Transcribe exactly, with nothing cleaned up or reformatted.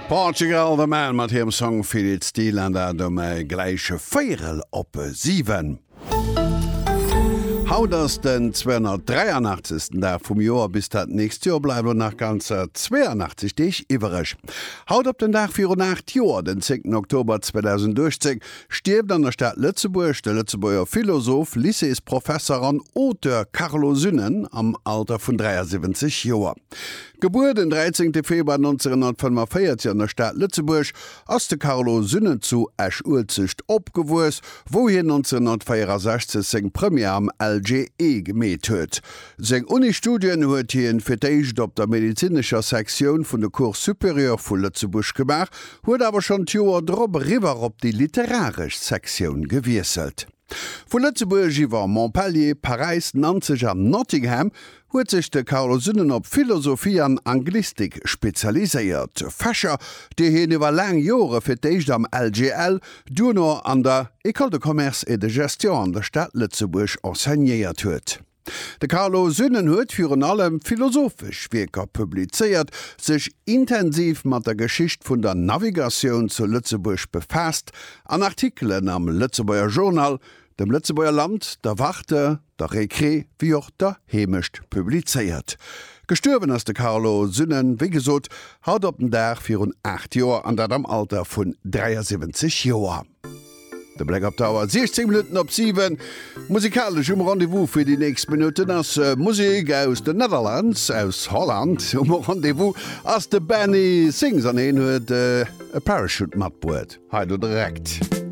Portugal The Man mat hirem Song Feel It Still an dat um gläich véierel op siwen. Haut ass den zweehonnertdräianachtzegsten Dag vum Joer, bis dat nächst Joer bleiwen elo nach ganzer zweeanachtzeg Deeg iwwereg. Haut op den Dag virun aacht Joer, den zéngten Oktober zweedausenduechtzéng, stierft an der Stad Lëtzebuerg de Lëtzebuerger Philosoph, Lycéesprofesser an Auteur Carlo Sünnen am Alter vun dräiasiwwenzeg Joer. Gebuer den dräizéngte Februar nonzénhonnertfënnefenvéierzeg an der Stad Lëtzebuerg, ass de Carlo Sünnen zu Esch-Uelzecht opgewuess, wou hien nonzénhonnertvéierasechzeg seng Première am L G E gemeet huet. Seng Uni-Studien huet hien fir d'éischt op der medezinescher Sektioun vun de Cours supérieurs vu Lëtzebuerg gemaach, huet awer schonn d'Joer drop eriwwer op déi literaresch Sektioun gewiesselt. Vu Lëtzebuerg iwwer Montpellier, Paräis, Nanzeg an Nottingham huet sech de Carlo Sünnen op Philosophie an Anglistik spezialiséiert, Fächer, déi hien iwwer laang Jore fir d'éischt am L G L, duerno an der École de Commerce et de Gestion an der Stad Lëtzebuerg enseignéiert huet. De Carlo Sünnen huet virun allem philosophesch Wierker publizéiert, sech intensiv mat der Geschicht vun der Navigatioun zu Lëtzebuerg befaasst an Artikelen am Lëtzebuerger Journal, dem Lëtzebuerger Land, der Warte, der Récré wéi och der Heemecht publizéiert. Gestuerwen ass de Carlo Sünnen, wéi gesot, haut op den Dag virun aacht Joer, an dat am Alter vun dräiasiwwenzeg Joer. De Bléck op d'Auer, siechzéng Minutten op siwen. Musikalesch um Rendez-vous fir déi nächst Minutten ass Musek aus den Netherlands, aus Holland. Um Rendez-vous ass de Benny Sings an hien huet e Parachute matbruet. Hei do direkt.